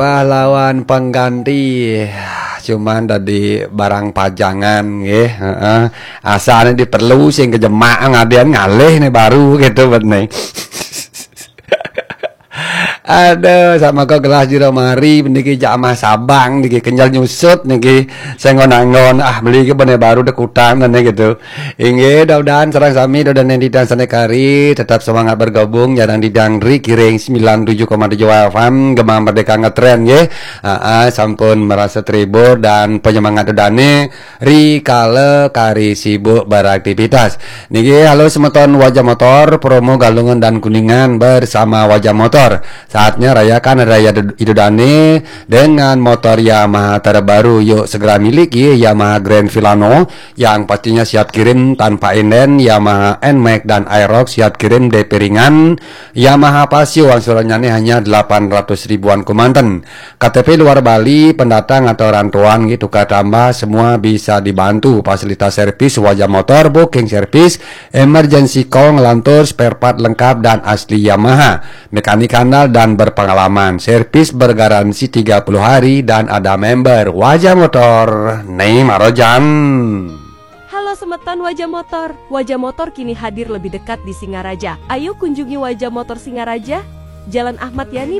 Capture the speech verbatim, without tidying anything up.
pahlawan pengganti. Cuman tadi barang pajangan nggih, heeh. Asane diperlu sing kejemak ngadean ngalih nih baru gitu bet nih. Aduh, sama kok gelas jero mari niki jamah sabang niki kenyal nyusut niki. Saya ngon-ngon ah beli ke bene baru dek utang dan gitu. Inggih, mudah-mudahan sareng sami dodan yang didang sanekari tetap semangat bergabung, jarang didang ri kiring sembilan tujuh koma tujuh F M Gema Merdeka ngetren nggih. Aa, sampun merasa terhibur dan penyemangat dodane ri kala kari sibuk beraktivitas. Niki halo semeton wajah motor, promo Galungan dan Kuningan bersama wajah motor. Saatnya rayakan hari raya Dod- Idodane dengan motor Yamaha terbaru. Yuk segera miliki Yamaha Grand Filano yang pastinya siap kirim tanpa inden, Yamaha Nmax dan Aerox siap kirim D P ringan, Yamaha Paseo angsurannya nih hanya delapan ratus ribuan kemanten. K T P luar Bali, pendatang atau rantauan gitu, tukar tambah semua bisa dibantu. Fasilitas servis wajah motor, booking servis, emergency call, ngelantur, spare part lengkap dan asli Yamaha. Mekanik handal dan berpengalaman. Servis bergaransi tiga puluh hari dan ada member. Wajah motor, Nei Marojan. Halo semeton Wajah Motor. Wajah Motor kini hadir lebih dekat di Singaraja. Ayo kunjungi Wajah Motor Singaraja, Jalan Ahmad Yani